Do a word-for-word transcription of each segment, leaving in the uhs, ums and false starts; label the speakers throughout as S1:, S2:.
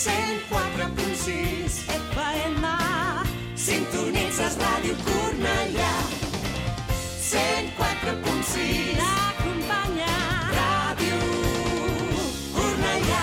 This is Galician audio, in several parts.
S1: cent quatre punt sis F M. Sintonitzes Ràdio Cornellà. cent quatre punt sis L'acompanya Ràdio Cornellà.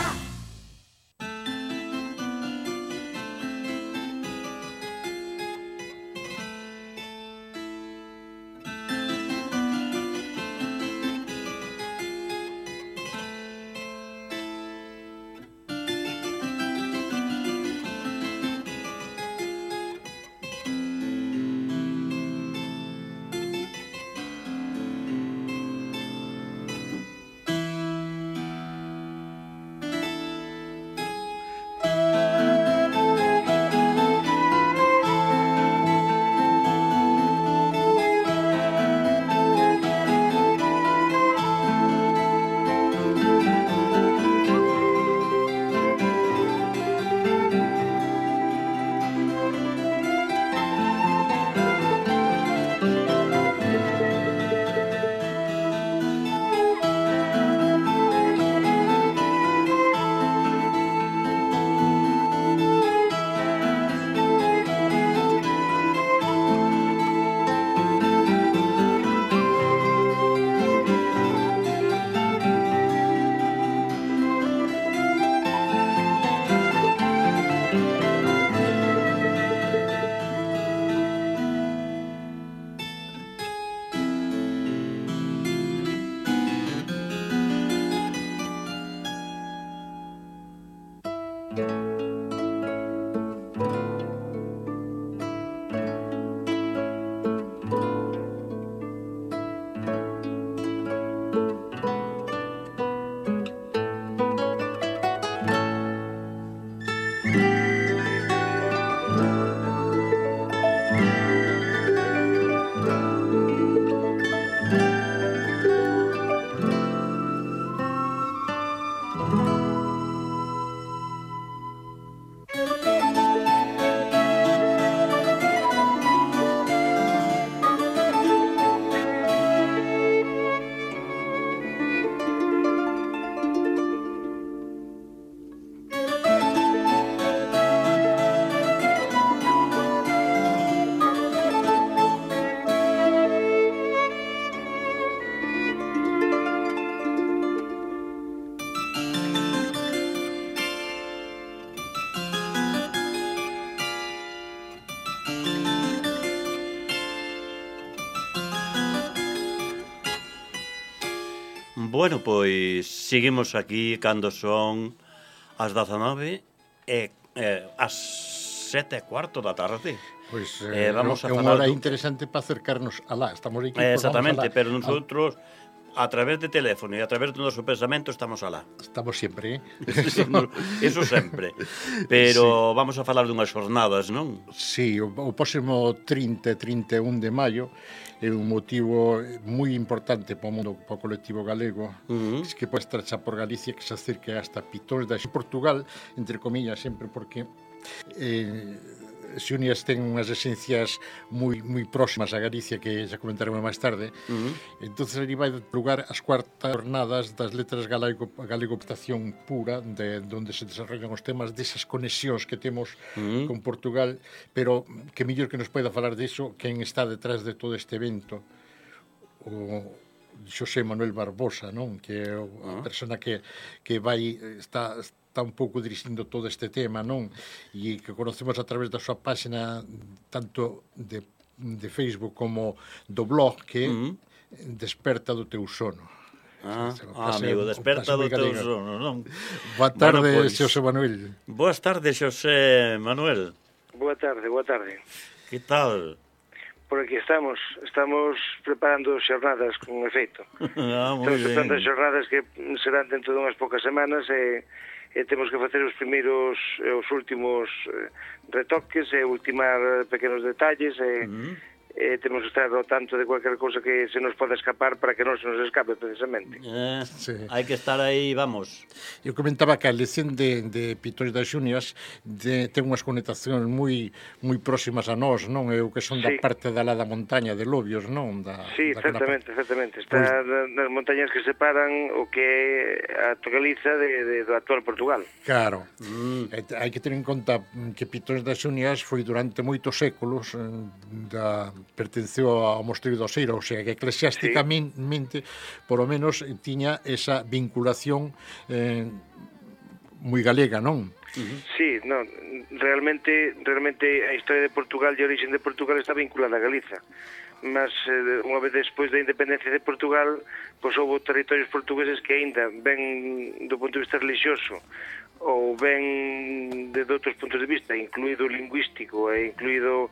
S2: Bueno, pois seguimos aquí cando son as dezanove e eh, as sete e cuarto da tarde.
S3: Pois eh, eh, vamos é unha hora do... interesante para acercarnos alá. Estamos aquí,
S2: eh, exactamente,
S3: alá.
S2: Pero nosotros a través de teléfono e a través do noso pensamento estamos alá.
S3: Estamos sempre, eh?
S2: Eso sempre. Pero sí, vamos a falar dunhas jornadas, non?
S3: Sí, o, o próximo trinta e trinta e un de maio é un motivo moi importante para o mundo, para o colectivo galego, uh-huh. que pode estar xa por Galicia, que se acerque hasta Pitóns de Portugal, entre comillas, sempre porque eh, Xunias ten unhas esencias moi moi próximas a Galicia, que xa comentaremos máis tarde. Uh-huh. Entonces ali vai lugar as cuartas jornadas das letras galego, galegoptación pura, de onde se desarrollan os temas desas conexións que temos uh-huh. con Portugal, pero que mellor que nos poida falar diso quen está detrás de todo este evento, o Xosé Manuel Barbosa, non? Que é a uh-huh. persona que, que vai está está un pouco dirixindo todo este tema, non? E que conocemos a través da súa página tanto de, de Facebook como do blog, que uh-huh. Desperta do teu sono.
S2: Ah, ah amigo, Desperta do teu sono, non?
S3: Boa tarde, bueno, pues, Xosé Manuel.
S2: Boas tardes, Xosé Manuel.
S4: Boa tarde, boa tarde.
S2: Que tal?
S4: Por aquí estamos, estamos preparando xornadas con efeito.
S2: Ah, moi
S4: estamos preparando xornadas que serán dentro de unhas poucas semanas e, e temos que facer os primeiros e os últimos eh, retoques e ultimar pequenos detalles e, uh-huh. eh, temos que estar ao tanto de cualquier cosa que se nos pode escapar para que non se nos escape precisamente.
S2: Eh,
S3: Sí.
S2: Hai que estar aí, vamos.
S3: Eu comentaba que a elección de, de Pitores das Xunias de, ten unhas conectacións moi moi próximas a nós, non? Eu que son da
S4: Sí.
S3: parte da lá da montaña de Lobios, non? Da,
S4: Sí,
S3: da
S4: exactamente, exactamente. Está
S3: Pois-
S4: pues... nas montañas que separan o que é a Galiza de, de, do actual Portugal.
S3: Claro.
S2: Mm.
S3: E te- hai que ter en conta que Pitores das Xunias foi durante moitos séculos eh, da, pertenceu ao mosteiro do Oseira, ou sea, que eclesiásticamente, por lo menos, tiña esa vinculación eh, moi galega, non?
S4: Sí, no, realmente realmente a historia de Portugal e a origen de Portugal está vinculada a Galiza. Mas eh, unha vez despois da independencia de Portugal, pois houve territorios portugueses que aínda ven do punto de vista religioso ou ven de, de outros puntos de vista, incluído o lingüístico e incluído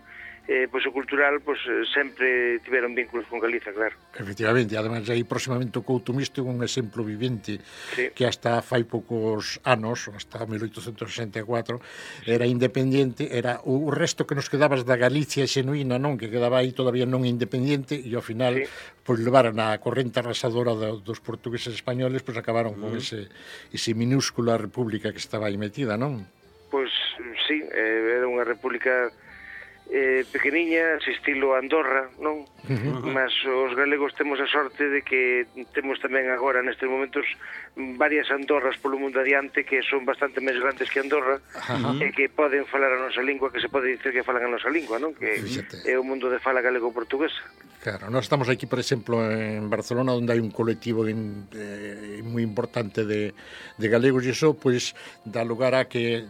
S4: eh, pois o cultural, pois eh, sempre tiveron vínculos con Galiza, claro.
S3: Efectivamente, además aí próximamente o Couto Misto é un exemplo vivente
S4: Sí.
S3: que hasta fai poucos anos, hasta mil oitocentos sesenta e catro, era independiente, era o resto que nos quedabas da Galicia xenuína, non, que quedaba aí todavía non independiente, e ao final,
S4: Sí.
S3: pois levaron a corrente arrasadora do, dos portugueses españoles, pois acabaron con ese, ese minúscula república que estaba aí metida, non?
S4: Pois sí, eh, era unha república eh, pequeniña, ese estilo Andorra, non? Uh-huh. Mas os galegos temos a sorte de que temos tamén agora nestes momentos varias Andorras polo mundo adiante que son bastante máis grandes que Andorra uh-huh. e que poden falar a nosa lingua, que se pode dicir que falan a nosa lingua, non? Que
S3: Fíxate.
S4: é o mundo de fala galego-portuguesa.
S3: Claro, nós estamos aquí, por exemplo, en Barcelona, onde hai un colectivo in, eh, moi importante de, de galegos, e iso, pois, dá lugar a que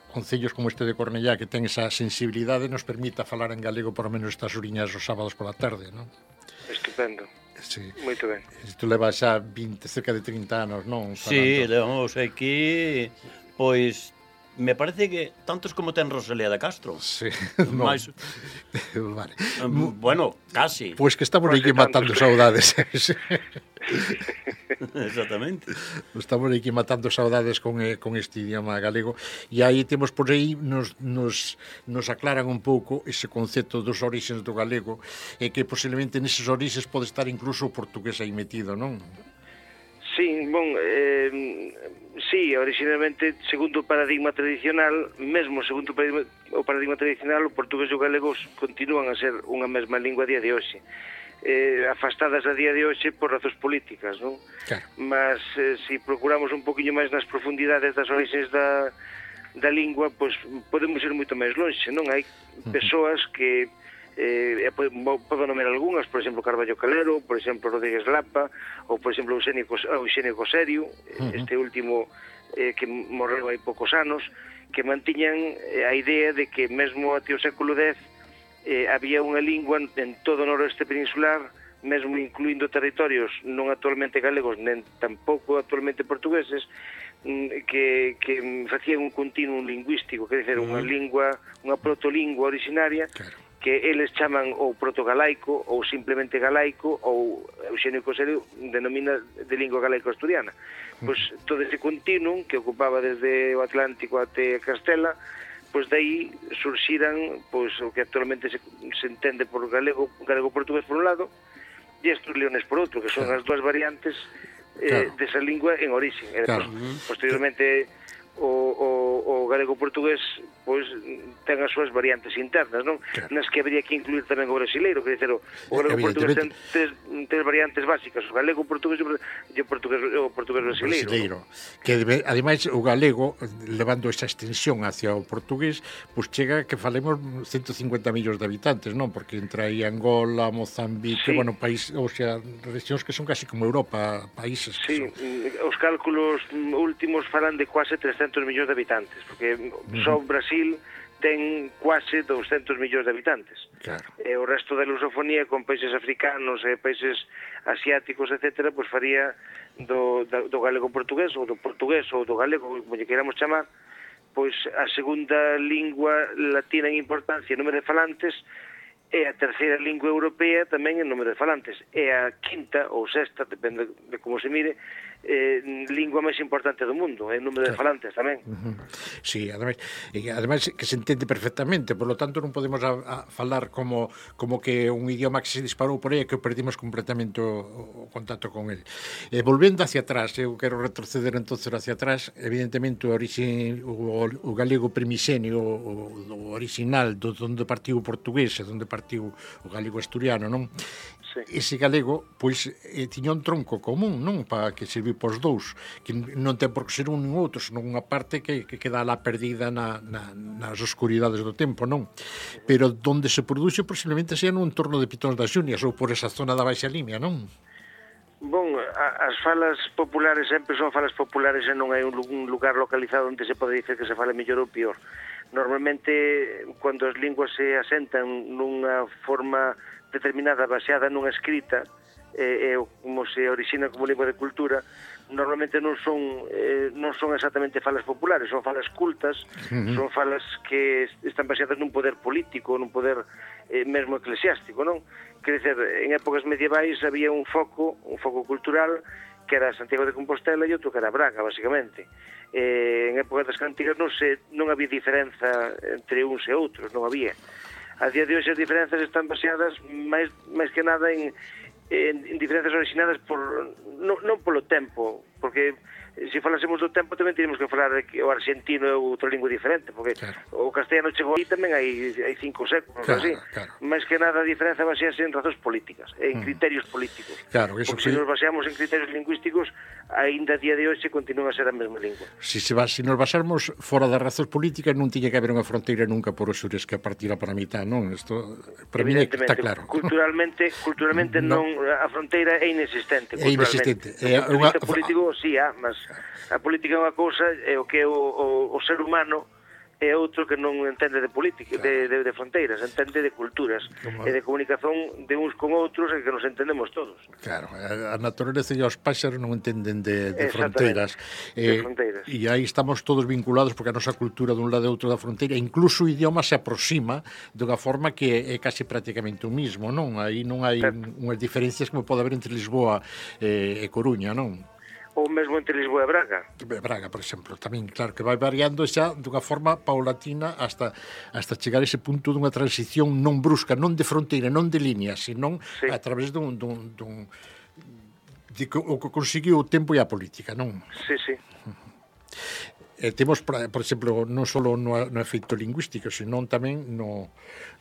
S3: concellos como este de Cornellá, que ten esa sensibilidade, nos permita falar en galego por lo menos estas oriñas os sábados pola tarde, non?
S4: Estupendo.
S3: Sí.
S4: Moito ben.
S3: Isto leva xa vinte, cerca de trinta anos, non?
S2: Sí,
S3: Falando.
S2: levamos aquí, pois, me parece que tantos como ten Rosalía de Castro.
S3: Sí, no.
S2: Mais,
S3: Vale.
S2: um, bueno, casi.
S3: Pois que estamos
S4: Pois
S3: aquí
S4: que tantos.
S3: matando saudades.
S2: Exactamente.
S3: Estamos aquí matando saudades con, eh, con este idioma galego, e aí temos por aí nos, nos, nos aclaran un pouco ese concepto dos orixes do galego, e que posiblemente neses orixes pode estar incluso o portugués aí metido, non?
S4: Sí, bon, eh, sí, originalmente, segundo o paradigma tradicional, mesmo segundo o paradigma, o paradigma tradicional, o portugués e o galego continúan a ser unha mesma lingua a día de hoxe. Eh, afastadas a día de hoxe por razóns políticas, non?
S3: Claro.
S4: Mas eh, se procuramos un poquinho máis nas profundidades das orixes da, da lingua, pois podemos ir moito máis lonxe, non? Hai persoas que eh, podo nomear algunhas, por exemplo Carballo Calero, por exemplo Rodríguez Lapa, ou por exemplo Eugenio, Eugenio Coserio, uh-huh. este último eh, que morreu hai poucos anos, que mantiñan eh, a idea de que mesmo até o século dez eh, había unha lingua en todo o noroeste peninsular, mesmo incluindo territorios non actualmente galegos, nen tampouco actualmente portugueses, que, que facían un continuum lingüístico, quer dizer, unha lingua, unha protolingua originaria, claro, que eles chaman ou protogalaico ou simplemente galaico, ou Eugenio Coserio denomina de lingua galaico-asturiana. Pois todo ese continuum que ocupaba desde o Atlántico até Castela, pois daí surxiran pois o que actualmente se, se entende por galego, galego-portugués por un lado, e estos leones por outro, que son claro. as dúas variantes eh, claro. desa lingua en origen. E
S3: claro.
S4: Despois, posteriormente o, o, o galego-portugués pois ten as súas variantes internas, non? Claro. Nas que habría que incluir tamén o brasileiro, que dizer, o, o galego-portugués ten tres, tres variantes básicas, o galego-portugués e o portugués, o portugués brasileiro. brasileiro.
S3: ¿No? Que ademais o galego, levando esa extensión hacia o portugués, pois chega que falemos ciento cincuenta millóns de habitantes, non? Porque entre aí Angola, Mozambique, sí. bueno, país, ou sea, regións que son casi como Europa, países que
S4: sí,
S3: son.
S4: Os cálculos últimos falan de quase trescentos millóns de habitantes, porque uh-huh. só Brasil ten quase doscientos millóns de habitantes.
S3: Claro.
S4: E o resto da lusofonía con países africanos e países asiáticos, etcétera, pois faría do, do galego portugués ou do portugués ou do galego, como lle queramos chamar, pois a segunda lingua latina en importancia en número de falantes e a terceira lingua europea tamén en número de falantes. E a quinta ou sexta, depende de como se mire, eh, lingua máis importante do mundo, en número de falantes tamén.
S3: Uh-huh. Sí, ademais, e ademais que se entende perfectamente, por lo tanto non podemos a, a falar como, como que un idioma que se disparou por aí e que perdimos completamente o, o contacto con ele. E volvendo hacia atrás, eu quero retroceder entonces hacia atrás, evidentemente o, orixin, o, o galego primixenio, o, o original do onde partiu o portugués e onde partiu o galego asturiano, non? Sí. Ese galego, pois, eh, tiña un tronco común, non? Para que serviu pos dous, que non ten por que ser un nin outro, senón unha parte que, que queda lá perdida na, na, nas oscuridades do tempo, non? Pero donde se produxe posiblemente sea no entorno de Pitóns das Xunias ou por esa zona da Baixa Limia, non?
S4: Bon, a, as falas populares sempre son falas populares e non hai un, un lugar localizado onde se pode dicer que se fala mellor ou pior. Normalmente, cando as linguas se asentan nunha forma determinada baseada nunha escrita, e eh, como se orixina como lingua de cultura, normalmente non son eh, non son exactamente falas populares, son falas cultas, uh-huh. son falas que están baseadas nun poder político, nun poder eh, mesmo eclesiástico, non? Quer dizer, en épocas medievais había un foco, un foco cultural que era Santiago de Compostela e outro que era Braga, basicamente. Eh, en épocas das cantigas non, se, non había diferenza entre uns e outros, non había. A día de hoxe as diferenzas están baseadas máis, máis que nada en, en, en diferenzas originadas por, non, non polo tempo, porque se falásemos do tempo tamén teríamos que falar que o argentino é outra lingua diferente, porque claro. O castellano chegou aí tamén hai, hai cinco séculos, claro, así. Claro. Máis que nada a diferenza basease en razóns políticas, en mm. criterios políticos. Claro, eso porque sí. Se nos baseamos en criterios lingüísticos, aínda a día de hoxe continúa a ser a mesma lingua.
S3: Si, se va, si nos basarmos fora das razóns políticas, non tiña que haber unha fronteira nunca por os xures que partira para a mitad, non? Isto, para mí está claro.
S4: Culturalmente, culturalmente no. non, a fronteira é inexistente.
S3: É inexistente.
S4: É unha... político, sí, ah, mas a política é unha cousa, é o que é o, o, o ser humano é outro que non entende de política, claro. de, de, de fronteiras, entende de culturas, como... e de comunicación de uns con outros e que nos entendemos todos.
S3: Claro, a natureza e os páxaros non entenden de, de fronteiras.
S4: Eh, de fronteiras.
S3: E aí estamos todos vinculados porque a nosa cultura dun lado e outro da fronteira, incluso o idioma se aproxima dunha forma que é casi prácticamente o mismo, non? Aí non hai un, unhas diferencias como pode haber entre Lisboa e, e Coruña, non?
S4: Ou mesmo entre Lisboa e Braga.
S3: Braga, por exemplo, tamén, claro, que vai variando xa dunha forma paulatina hasta hasta chegar a ese punto dunha transición non brusca, non de fronteira, non de línea, senón sí. a través dun, dun, dun de o que conseguiu o tempo e a política, non?
S4: Sí, sí.
S3: Eh, temos, por exemplo, non só no, no efeito lingüístico, senón tamén no,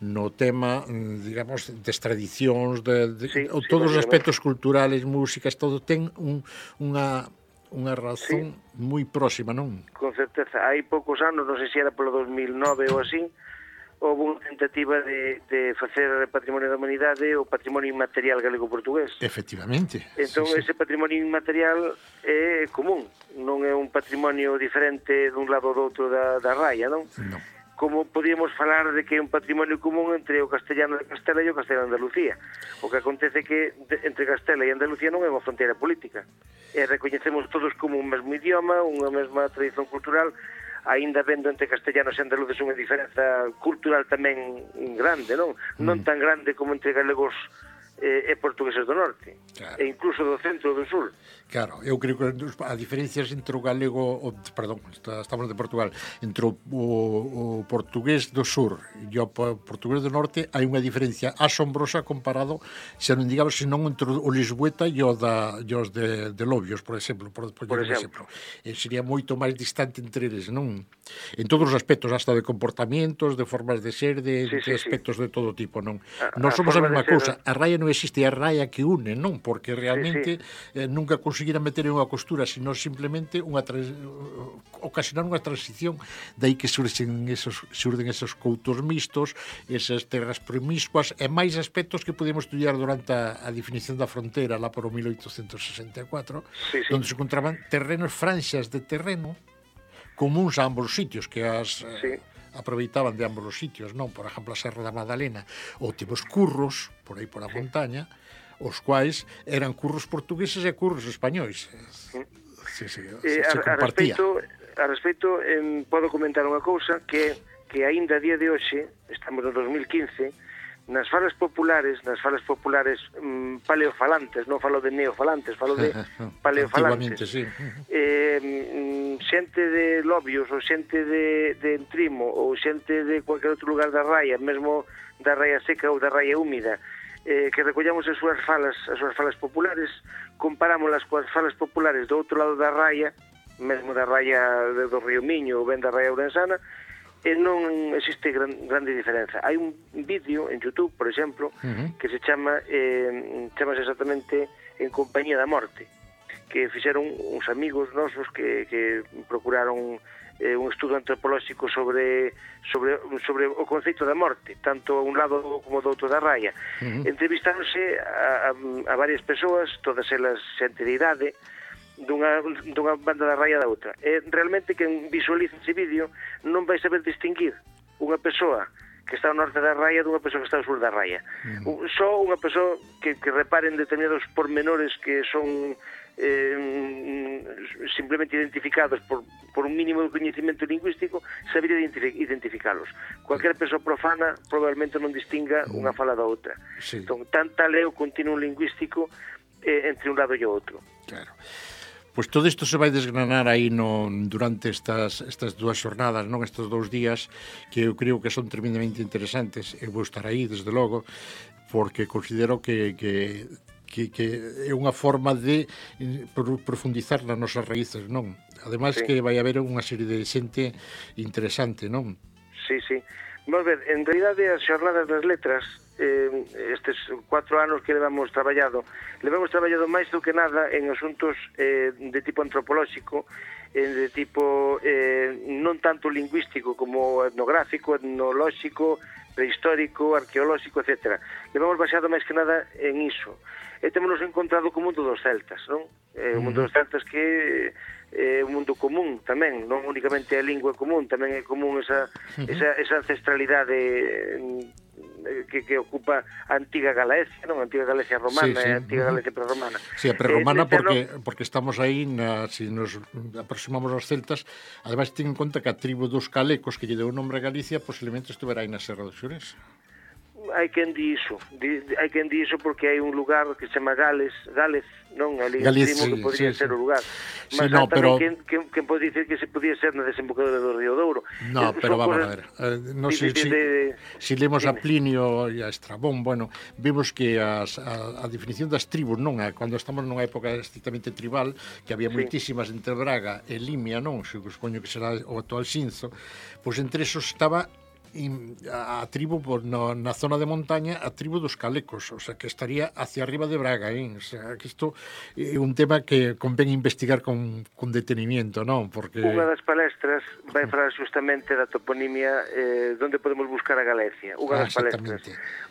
S3: no tema, digamos, das tradicións, de, de, sí, o, todos sí, os aspectos culturales, músicas, todo ten un, unha, unha razón sí. moi próxima, non?
S4: Con certeza. Hai poucos anos, non sei se era polo dos mil nove ou así, houve unha tentativa de, de facer Patrimonio da Humanidade o patrimonio inmaterial galego-portugués.
S3: Efectivamente.
S4: Entón, sí, ese sí. patrimonio inmaterial é común, non é un patrimonio diferente dun lado ou do outro da, da raya, non?
S3: Non.
S4: Como podíamos falar de que é un patrimonio común entre o castellano de Castela e o castellano de Andalucía. O que acontece que de, entre Castela e Andalucía non é unha fronteira política. E recoñecemos todos como un mesmo idioma, unha mesma tradición cultural, aínda vendo entre castellanos e andaluces unha diferenza cultural tamén grande, non? Mm. Non tan grande como entre galegos eh, e portugueses do norte, claro. E incluso do centro e do sur.
S3: Claro, eu creo que a diferencias entre o galego, o, perdón, estamos de Portugal, entre o, o, o portugués do sur e o portugués do norte hai unha diferencia asombrosa comparado, se non digamos, senón entre o lisboeta e o da, e os de, de Lobios, por exemplo, por, por, por exemplo. exemplo. Sería moito máis distante entre eles, non? En todos os aspectos, hasta de comportamientos, de formas de ser, de, sí, sí, de aspectos sí. de todo tipo, non? A, non somos a, a mesma cousa, a raya non existe, a raya que une, non? Porque realmente sí, sí. Eh, nunca conseguira meter en unha costura, sino simplemente unha trans... ocasionar unha transición, dai que surxen esos, surden esos coutos mixtos, esas terras promiscuas, e máis aspectos que podemos estudiar durante a, a definición da fronteira, lá por o mil oitocentos sesenta e catro, sí, sí. onde se encontraban terrenos, franxas de terreno, comuns a ambos os sitios, que as... Sí. aproveitaban de ambos os sitios, non? Por exemplo, a Serra da Madalena, ou temos curros, por aí por a sí. montaña, os quais eran curros portugueses e curros españois. Sí, sí, se,
S4: eh, se a, compartía. A respecto, a respecto eh, podo comentar unha cousa que, que aínda a día de hoxe, estamos no dos mil quince, nas falas populares, nas falas populares mm, paleofalantes, non falo de neofalantes, falo de paleofalantes.
S3: Sí.
S4: Eh, mm, xente de Lobios, ou xente de, de Entrimo, ou xente de cualquier outro lugar da raia, mesmo da raia seca ou da raia húmida, eh, que recollamos as súas falas, as súas falas populares, comparámolas coas falas populares do outro lado da raia, mesmo da raia do Río Miño ou ben da raia ourensana, e non existe gran, grande diferenza. Hai un vídeo en YouTube, por exemplo, uh-huh. que se chama eh, chamase exactamente En compañía da morte, que fixeron uns amigos nosos que, que procuraron eh, un estudo antropolóxico sobre, sobre, sobre o conceito da morte, tanto a un lado como do outro da raia. Uh-huh. Entrevistáronse a, a, a varias persoas, todas elas xente de idade, dunha, dunha banda da raia da outra. E realmente quen visualiza ese vídeo non vai saber distinguir unha persoa que está ao norte da raia dunha persoa que está ao sur da raia. Mm. Só unha persoa que, que reparen determinados pormenores que son eh, simplemente identificados por, por un mínimo de coñecimento lingüístico sabería identificalos. Cualquier persoa profana probablemente non distinga mm. unha fala da outra. Sí. Entón, tan tal é o continuo lingüístico eh, entre un lado e o outro.
S3: Claro. Pois todo isto se vai desgranar aí no, durante estas, estas dúas xornadas, non estes dous días, que eu creo que son tremendamente interesantes. Eu vou estar aí, desde logo, porque considero que, que, que, que é unha forma de profundizar nas nosas raíces, non? Ademais sí. que vai haber unha serie de xente interesante, non?
S4: Sí, sí. Vamos ver, en realidade as xornadas das letras, eh, estes cuatro anos que levamos traballado, levamos traballado máis do que nada en asuntos eh, de tipo antropolóxico, eh, de tipo eh, non tanto lingüístico como etnográfico, etnolóxico, prehistórico, arqueolóxico, etcétera. Levamos baseado máis que nada en iso. E temos encontrado co mundo dos celtas, non? Eh, o mundo dos celtas que é un mundo común tamén, non únicamente a lingua común, tamén é común esa, esa, esa ancestralidade que, que ocupa a antiga Galaecia, non? A antiga Galaecia romana, sí, sí. A antiga Galaecia prerromana.
S3: Sí, a prerromana eh, porque, no... porque estamos aí, na, si nos aproximamos aos celtas, ademais ten en conta que a tribo dos calecos que lle deu o nombre a Galicia posiblemente estuvera aí na Serra do Xurés.
S4: Hai quen di iso, di, hai quen di iso porque hai un lugar que se chama Gales, Gales, non, ali
S3: Galicia,
S4: que podría
S3: sí,
S4: ser
S3: sí.
S4: o lugar.
S3: Sí,
S4: mas
S3: no,
S4: tamén
S3: pero...
S4: quen, quen, quen pode dicir que se podía ser na desembocadura do Río Douro.
S3: No,
S4: eh,
S3: pero vamos
S4: cosas...
S3: a ver, eh, no sé si,
S4: de...
S3: si lemos
S4: Dime.
S3: a Plinio e a Estrabón, bueno, vemos que as, a, a definición das tribus, non, a, cando estamos nunha época estrictamente tribal, que había sí. moitísimas entre Braga e Limia, non, supoño que será o actual Xinzo, pois entre esos estaba a tribu por no, na zona de montaña, a tribu dos calecos, o sea, que estaría hacia arriba de Braga, ¿eh? O sea, que isto é un tema que convén investigar con, con detenimiento, non? Porque...
S4: Unha das palestras vai falar justamente da toponimia eh, onde podemos buscar a Galicia. Unha das ah, palestras.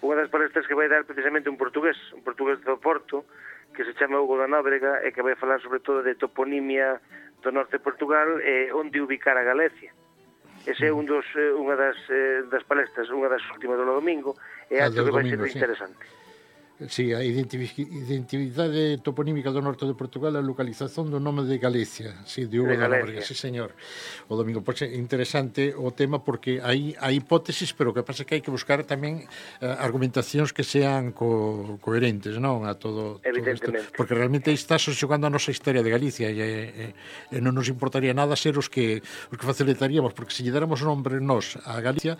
S4: Unha das palestras que vai dar precisamente un portugués, un portugués do Porto, que se chama Hugo da Nóbrega, e que vai falar sobre todo de toponimia do norte de Portugal e onde ubicar a Galicia. Ese é un dos, eh, unha das, eh, das palestras, unha das últimas do domingo, e acho que vai ser sí. interesante.
S3: Sí, a identidade toponímica do norte de Portugal, a localización do nome de Galicia, sí, de Hugo da Nóbrega, sí, señor. O domingo, pois é interesante o tema porque hai, hai hipótesis, pero o que pasa é que hai que buscar tamén uh, argumentacións que sean co, coherentes, non? A todo,
S4: evidentemente.
S3: Todo porque realmente aí está xogando a nosa historia de Galicia e, e, e non nos importaría nada ser os que, os que facilitaríamos, porque se lle dáramos nombre nós a Galicia,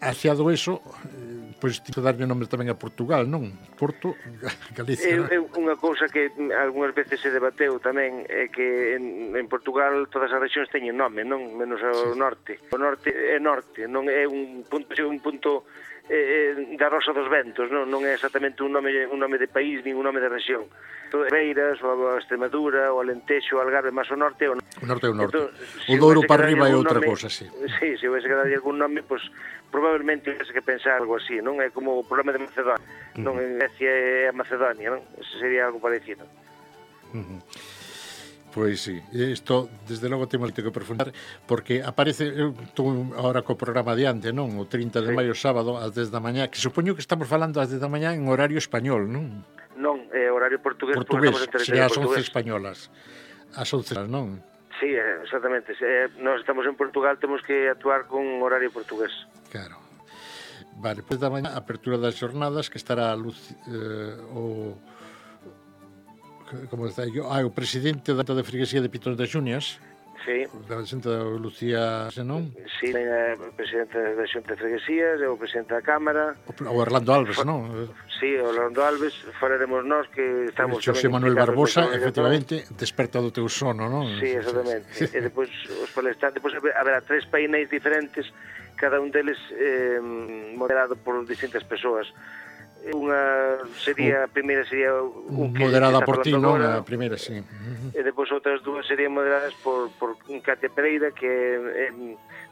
S3: aseado eso, pois tipo darlle nome tamén a Portugal, non? Porto, Galicia.
S4: É, é unha cousa que algunhas veces se debateu tamén, é que en, en Portugal todas as rexións teñen nome, non? Menos o sí. norte. O norte é norte, non é un punto, un punto eh, da Rosa dos Ventos, non? Non é exactamente un nome, un nome de país, nin un nome de rexión. Beiras, ou a Extremadura, o Alentexo, o Algarve, máis o norte é o norte.
S3: O norte é o norte. Entón, o Douro para arriba é outra cosa, sí.
S4: Sí, se houvese que darlle algún nome, pois probablemente houvese que pensar algo así, non? É como o problema de Macedonia, uh-huh. non? En Grecia é a Macedonia, non? Ese sería algo parecido.
S3: Uh-huh. Pois sí, isto desde logo temos que profundar porque aparece, eu estou agora co programa adiante, non? O trinta de sí. maio sábado ás dez da mañá, que supoño que estamos falando ás dez da mañá en horario español, non?
S4: Non, é horario portugués,
S3: portugués sería as once españolas. As once, non?
S4: Sí, exactamente. Eh, nós estamos en Portugal, temos que actuar con horario portugués.
S3: Claro. Vale, pois da mañá, apertura das xornadas, que estará Luci, eh, o... como está yo? Ah, o presidente da de Freguesía de Pitón das Xunias,
S4: Sí.
S3: da xente da Lucía Senón,
S4: Sí, a presidente da Xunta de Freguesías, e o presidente da Cámara.
S3: o Orlando Alves, non?
S4: Sí, o Orlando Alves, falaremos nós que estamos...
S3: Xosé
S4: tamén
S3: Manuel
S4: implicados
S3: Barbosa,
S4: na organización.
S3: efectivamente, desperta do teu sono, non?
S4: Sí, exactamente. E depois os palestrantes, depois haberá tres painéis diferentes, cada un deles eh, moderado por distintas persoas. Unha sería, a primeira sería un que
S3: Moderada
S4: está
S3: por ti,
S4: falando
S3: non?
S4: agora,
S3: A primeira, sí. Uh-huh.
S4: e depois outras dúas serían moderadas por, por Katia Pereira, que é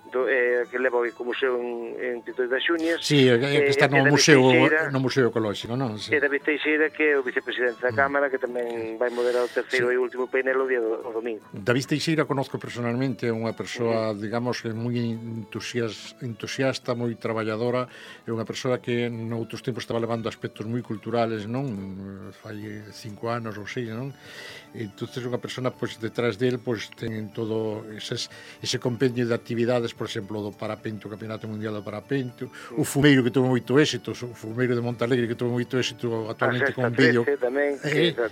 S4: do, eh, que leva o Ecomuseo en, en Pitón das Xunias.
S3: Sí, que está no
S4: David
S3: museo,
S4: Teixeira,
S3: no museo ecolóxico, non? Sí.
S4: E David Teixeira, que é o vicepresidente da Cámara, que tamén vai moderar o terceiro
S3: Sí.
S4: e último painel o día do o domingo.
S3: David Teixeira conozco personalmente, é unha persoa, digamos, que moi entusias, entusiasta, moi traballadora, é unha persoa que noutros tempos estaba levando aspectos moi culturales, non? Fai cinco anos ou seis, non? Entonces unha persona, pois, detrás del, pois, ten todo eses, ese compendio de actividades, por exemplo, do parapente, o Campeonato Mundial do Parapente, o fumeiro que tuvo moito éxito, o fumeiro de Montalegre que tuvo moito éxito actualmente con un vídeo.
S4: Tamén,
S3: Eh,
S4: que
S3: ya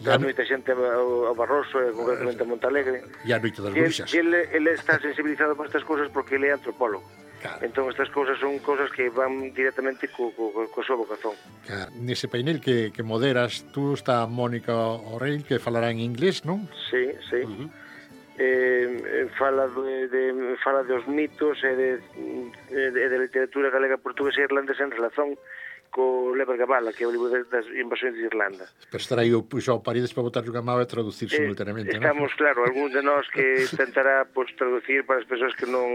S4: dá
S3: no-
S4: moita xente ao, ao Barroso, e concretamente a Montalegre.
S3: e a Noite das
S4: E el,
S3: Bruxas.
S4: e ele, ele está sensibilizado por estas cousas porque ele é antropólogo.
S3: Claro.
S4: Entón estas cousas son cousas que van directamente co, co, co, co súa vocación.
S3: Claro. Nese painel que, que moderas, tú está Mónica Orell, que falará en inglés, non?
S4: Sí, sí. Uh -huh. eh, fala de, de fala dos mitos e de, de, de literatura galega, portuguesa e irlandesa en relación co Lever Gabala, que é o libro das invasións de Irlanda.
S3: Pero estará aí o puxo ao Paredes para botar unha mapa e traducir
S4: Eh,
S3: simultaneamente,
S4: estamos,
S3: non?
S4: claro, algún de nós que tentará pues, traducir para as persoas que non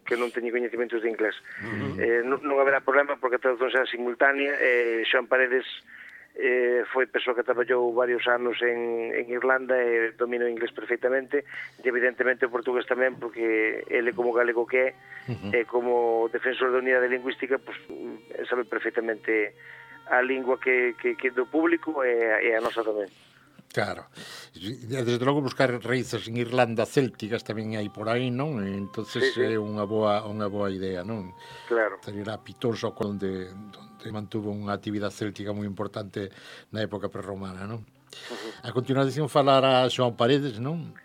S4: que non teñen coñecementos de inglés. Uh -huh. eh, non, non haberá problema porque a traducción será simultánea. Eh, Xoan Paredes eh, foi persoa que traballou varios anos en, en Irlanda e domina o inglés perfectamente, e evidentemente o portugués tamén, porque ele como galego que é, uh -huh. e como defensor da unidade lingüística, pues, sabe perfectamente a lingua que, que, que do público e, e a nosa tamén.
S3: Claro. Desde logo buscar raíces en Irlanda célticas tamén hai por aí, non? Entonces
S4: Sí, sí.
S3: é unha boa unha boa idea, non?
S4: Claro.
S3: Estaría Pitón só onde, onde mantuvo unha actividade céltica moi importante na época prerromana, non? Uh-huh. A continuación falará Xoan Paredes, non?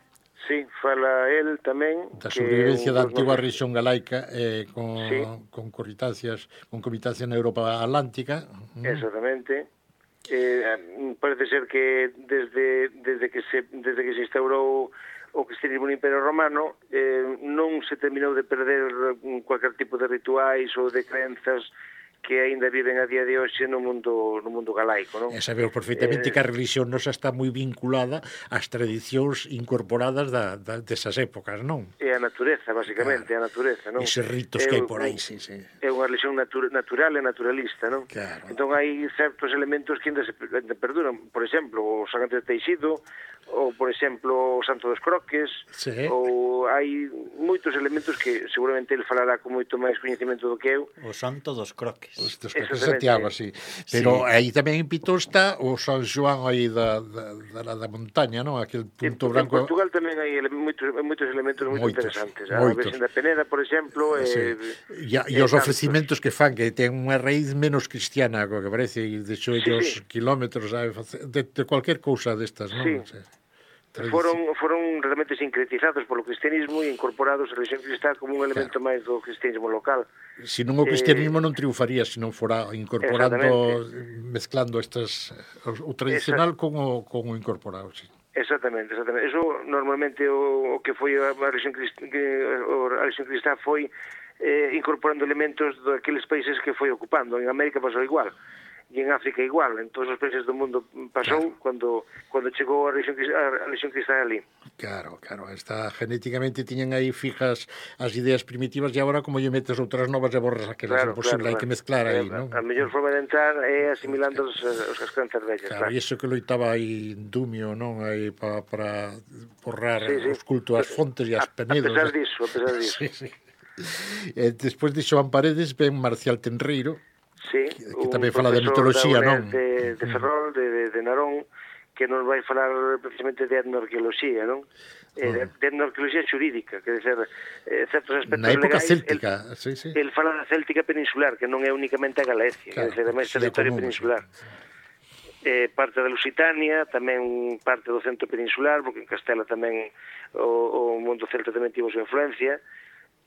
S4: Sí, fala el tamén
S3: Da sobrevivencia da antigua
S4: nos...
S3: rexión galaica eh, con,
S4: Sí.
S3: con corritancias, con comitancia na Europa Atlántica.
S4: Exactamente. Eh, parece ser que desde, desde que se desde que se instaurou o cristianismo no Imperio Romano eh, non se terminou de perder cualquier tipo de rituais ou de crenzas que aínda viven a día de hoxe no mundo no mundo galaico, non?
S3: E sabemos perfectamente eh, que a religión nosa está moi vinculada ás tradicións incorporadas da, da, desas épocas, non?
S4: É a natureza, basicamente, claro. A natureza, non?
S3: Eses ritos
S4: é,
S3: que hai por aí, sí, sí.
S4: É unha religión natu natural e naturalista, non?
S3: Claro.
S4: Entón hai certos elementos que ainda se ainda perduran, por exemplo, o San Antonio de Teixido, ou, por exemplo, o Santo dos Croques,
S3: sí.
S4: Ou hai moitos elementos que seguramente ele falará con moito máis coñecemento do que eu.
S2: O Santo dos Croques.
S3: Os dos Croques de Santiago, sí. Pero sí. Aí tamén en Pitón está o San Xoán aí da, da, da, da montaña, non? Aquel punto
S4: en,
S3: branco.
S4: En Portugal tamén hai ele moitos, moitos elementos moi interesantes. A
S3: moitos.
S4: Virxen da Peneda, por exemplo,
S3: sí.
S4: e,
S3: e, e os ofrecimentos que fan, que ten unha raíz menos cristiana, co que parece, e de xo ellos sí, sí. kilómetros de, de cualquier cousa destas, non?
S4: Sí.
S3: O sea,
S4: foron foron realmente sincretizados polo cristianismo e incorporados a religión cristá como un elemento claro. máis do cristianismo local.
S3: Se non o cristianismo eh, non triunfaría se non fora incorporando, mezclando estas o, o tradicional con o, con o incorporado, sí.
S4: Exactamente, exactamente. Eso normalmente o, o que foi a religión cristá, que a religión cristá foi eh, incorporando elementos daqueles países que foi ocupando. En América pasou igual. E en África igual, en todos os países do mundo pasou claro. cando cando chegou a religión, a religión cristá ali.
S3: Claro, claro, está genéticamente tiñan aí fijas as ideas primitivas e agora como lle metes outras novas e borras aquelas, claro, imposible, claro, hai que mezclar aí,
S4: eh,
S3: non?
S4: A mellor forma de entrar é asimilando os, os as crenzas vellas.
S3: Claro, claro, e iso que loitaba aí Dumio, non? Aí para para borrar sí, sí. os cultos ás fontes e as penedos.
S4: A pesar disso, a pesar disso.
S3: sí, sí. E despois de Xoan Paredes ven Marcial Tenreiro,
S4: sí,
S3: que, que tamén fala de mitoloxía, non?
S4: De, de Ferrol, de, de, de Narón, que nos vai falar precisamente de etnoarqueoloxía, non? Eh, de, de etnoarqueoloxía xurídica, que dizer, eh, certos aspectos
S3: Na época
S4: legais,
S3: céltica,
S4: el,
S3: sí, sí.
S4: el fala da céltica peninsular, que non é únicamente a Galicia, claro, que dizer, é máis territorio común, peninsular. Sí. Eh, parte da Lusitania, tamén parte do centro peninsular, porque en Castela tamén o, o mundo celta tamén tivo súa influencia,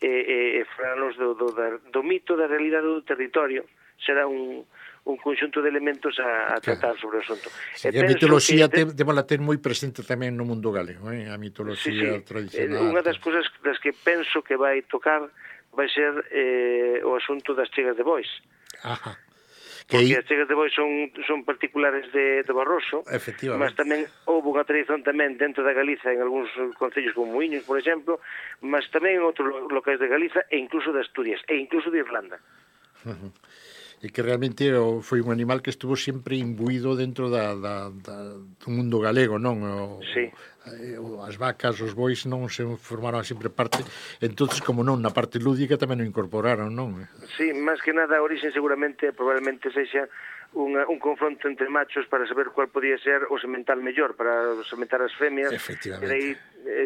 S4: e, e, e falanos do, do, do mito da realidade do territorio. Será un, un conxunto de elementos a, a tratar, claro, sobre o asunto.
S3: Sí, a mitoloxía que... debemos ter moi presente tamén no mundo galego, eh? A mitoloxía
S4: sí, sí.
S3: tradicional.
S4: Unha das cousas das que penso que vai tocar vai ser eh, o asunto das chegas de bois.
S3: Ajá.
S4: Porque as chegas de bois son, son particulares de, de Barroso, mas tamén houve unha tradición tamén dentro da Galiza en algúns concellos como Muiños, por exemplo, mas tamén en outros locais de Galiza e incluso de Asturias e incluso de Irlanda.
S3: Uh-huh. E que realmente foi un animal que estuvo sempre imbuído dentro da, da, da, do mundo galego, non? O,
S4: sí.
S3: O, as vacas, os bois non se formaron sempre parte, entonces como non, na parte lúdica tamén o incorporaron, non?
S4: Sí, máis que nada a origen seguramente, probablemente sexa unha, un confronto entre machos para saber cuál podía ser o semental mellor, para sementar as femias, e aí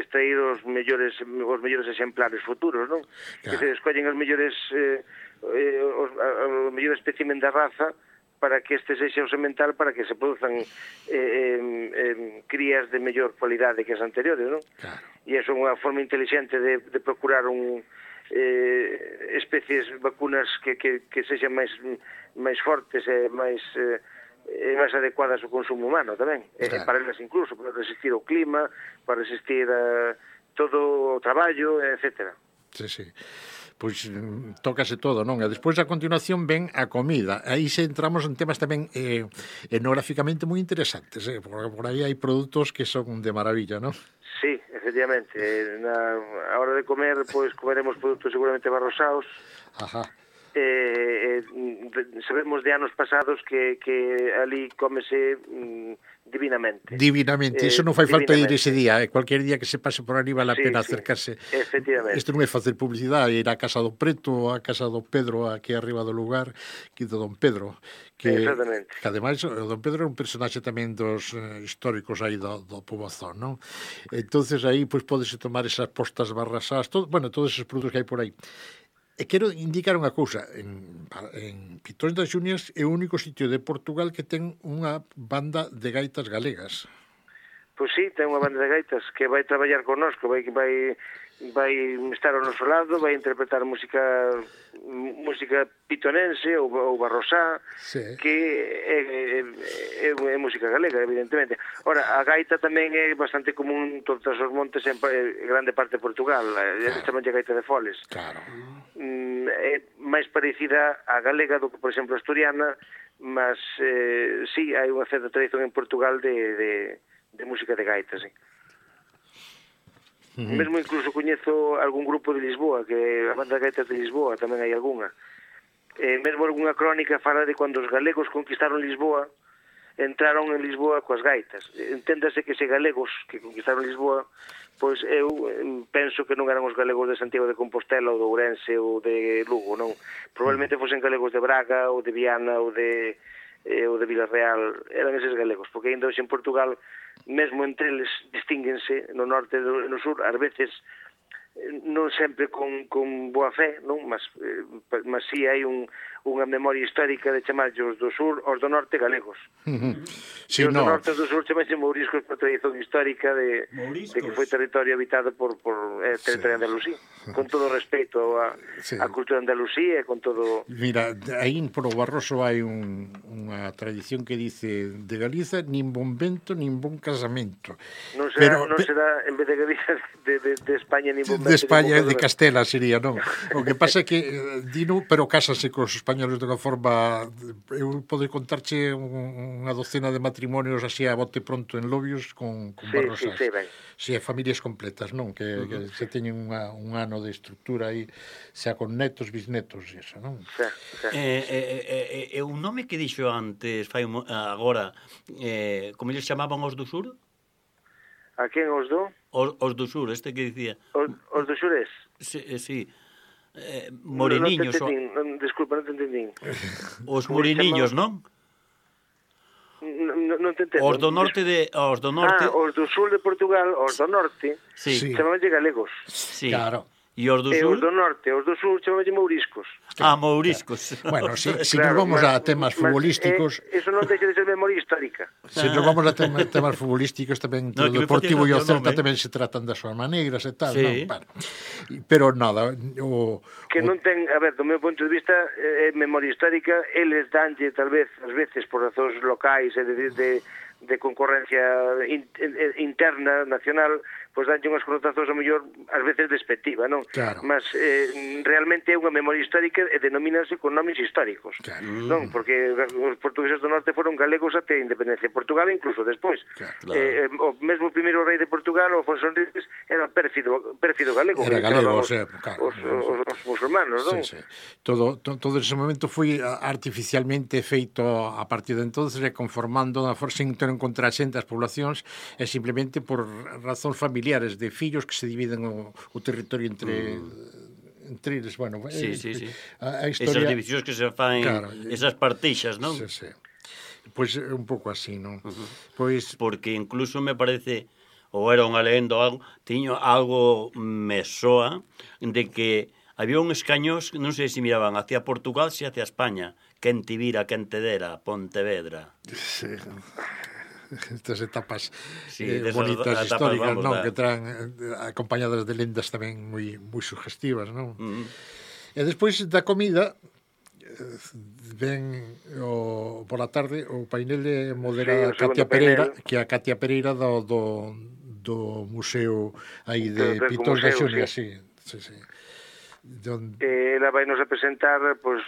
S4: extrair os mellores, os mellores exemplares futuros, non? Claro. Que se escollen os mellores... Eh, Eh, os, a, a mellor espécimen da raza para que este sexa o semental para que se produzan eh, eh, eh, crías de mellor cualidade que as anteriores, non?
S3: Claro.
S4: E iso é unha forma inteligente de, de procurar un eh, especies vacunas que, que, que sexan máis máis fortes e máis eh, e máis adecuadas ao consumo humano tamén, claro. E para elas incluso para resistir ao clima, para resistir a todo o traballo, etcétera.
S3: Sí, sí. Pois tócase todo, non? E despois a continuación ven a comida. Aí se entramos en temas tamén eh, etnográficamente moi interesantes, eh? Porque por aí hai produtos que son de maravilla, non?
S4: Sí, efectivamente. Na, a hora de comer, pois comeremos produtos seguramente barrosaos.
S3: Ajá.
S4: Eh, eh, sabemos de anos pasados que, que ali cómese mm, divinamente.
S3: Divinamente, eh, iso non fai falta ir ese día, eh? Cualquier día que se pase por ali vale a sí, pena sí, acercarse.
S4: Efectivamente.
S3: Isto non é facer publicidade, ir á casa do Preto, á casa do Pedro, aquí arriba do lugar, que do Don Pedro. Que,
S4: exactamente.
S3: Que ademais o Don Pedro é un personaxe tamén dos eh, históricos aí do, do Pobozón, non? Entonces aí pois podese tomar esas postas barrasadas, todo, bueno, todos esos produtos que hai por aí. E quero indicar unha cousa, en, en Pitón das Xunias é o único sitio de Portugal que ten unha banda de gaitas galegas.
S4: Pois sí, ten unha banda de gaitas que vai traballar connosco, vai vai vai estar ao noso lado, vai interpretar música música pitonense ou, ou barrosá, sí. Que é, é, é, é música galega, evidentemente. Ora, a gaita tamén é bastante común en todos os montes en grande parte de Portugal, claro. Chaman de gaita de foles.
S3: Claro.
S4: Mm, é máis parecida á galega do que, por exemplo, a asturiana, mas eh, sí, hai unha certa tradición en Portugal de, de, de música de gaita, sí. Uh-huh. Mesmo incluso coñezo algún grupo de Lisboa, que a banda de gaitas de Lisboa tamén hai algunha. Eh, mesmo algunha crónica fala de cando os galegos conquistaron Lisboa, entraron en Lisboa coas gaitas. Enténdase que se galegos que conquistaron Lisboa, pois eu penso que non eran os galegos de Santiago de Compostela ou de Ourense ou de Lugo, non. Probablemente fosen galegos de Braga ou de Viana ou de eh, ou de Vilarreal, eran eses galegos, porque ainda hoxe en Portugal mesmo entre eles distínguense no norte e no sur, ás veces non sempre con, con boa fe, non? Mas, eh, mas sí hai un, unha memoria histórica de chamarllos do sur aos do norte galegos. Uh-huh. Sí, e os no. do norte e do sur chamarse mouriscos por tradición histórica de, de que foi territorio habitado por, por eh, territorio sí. Andalusí, con todo respeto a, sí. a cultura andalusí e con todo...
S3: Mira, aí por o Barroso hai un, unha tradición que dice de Galiza nin bon vento, nin bon casamento.
S4: Non será, Pero, non será en vez de Galiza de, de, de España nin bon vento.
S3: De España, de Castela sería, non? O que pasa é que dino, pero cásanse cos españoles de unha forma, eu podo contarche unha docena de matrimonios así a bote pronto en Lobios con, con
S4: sí,
S3: barrosas.
S4: Sí, sí, ben.
S3: Si, sí, familias completas, non? Que, uh-huh. que se teñen unha, un ano de estructura aí, xa con netos, bisnetos e eso, non?
S2: Sí, sí. Eh, eh, eh, un nome que dixo antes, fai agora, eh, como eles chamaban os do sur?
S4: A quen os do?
S2: Os, os do sur, este que dicía.
S4: Os, os do sures?
S2: Sí, sí. Eh, moreniños.
S4: No, no non, disculpa, non te entendín.
S2: Os moreniños, non?
S4: No, non, non te entendo.
S2: Os do norte de os do norte.
S4: Ah, os do sul de Portugal, os do norte,
S2: Sí.
S3: Sí.
S4: chamabanlle galegos.
S2: Sí.
S3: Claro.
S2: E os do
S4: E os
S2: sur?
S4: do norte, os do sur chamabanlle mouriscos.
S2: Ah, mouriscos.
S3: Bueno, si, si
S4: Claro,
S3: nos vamos
S4: mas-
S3: a temas
S4: mas,
S3: futbolísticos,
S4: eh, eso non deixa de ser memoria histórica.
S3: se nos vamos a tema, temas futbolísticos tamén
S2: No,
S3: no,
S2: que me
S3: o Deportivo e o
S2: facía gracia o
S3: Celta
S2: nome.
S3: tamén se tratan das súas maneiras e tal,
S2: Sí.
S3: non? Bueno, y- pero nada, o,
S4: Que
S3: o,
S4: non ten, a ver, do meu punto de vista, é eh, memoria histórica, eles danlle, tal vez, ás veces, por razóns locais e de, de, de concorrencia in, in, interna, nacional, pois danlle unhas connotacións, a mellor, ás veces despectiva, non?
S3: Claro.
S4: Mas eh, realmente é unha memoria histórica e denomínanse con nomes históricos,
S3: Claro.
S4: non? Porque os portugueses do norte foron galegos até a independencia de Portugal, incluso despois.
S3: Claro.
S4: Eh, eh, o mesmo primeiro rei de Portugal, o Afonso Henriques, era pérfido, pérfido galego.
S3: Era
S4: que
S3: galego,
S4: chamaban
S3: o sea,
S4: os,
S3: claro.
S4: os, os, os musulmanos, non?
S3: Sí, sí. Todo, to, todo ese momento foi artificialmente feito a partir de entonces e conformando a forza sin ter en contra a xente as poblacións e simplemente por razóns familiares de fillos que se dividen o, o territorio entre mm. entre eles, bueno,
S2: Sí,
S3: eh,
S2: sí, sí.
S3: A, a
S2: Esas
S3: historia
S2: divisións que se fan,
S3: Claro.
S2: esas partixas, non?
S3: Sí, sí. Pois é un pouco así, non?
S2: Uh -huh.
S3: Pois
S2: Porque incluso me parece, ou era unha leyenda ou algo, tiño algo me soa de que había uns cañós, non sei se miraban hacia Portugal, se hacia España, quen te vira, quen te dera, Pontevedra.
S3: sí, estas etapas
S2: Sí,
S3: eh,
S2: desas
S3: bonitas
S2: etapas,
S3: históricas,
S2: vamos,
S3: non,
S2: da-
S3: que traen eh, acompañadas de lendas tamén moi moi sugestivas, non?
S2: Mm.
S3: E despois da comida eh, ven o, por a tarde o painel de
S4: Sí, o
S3: modera
S4: segundo
S3: Katia Pereira,
S4: painel.
S3: que é a Katia Pereira do, do, do museo aí de
S4: Do- do
S3: Pitos da
S4: museo,
S3: Xunia,
S4: sí.
S3: sí, sí, sí. Don,
S4: Eh, ela vai nos a presentar, pois,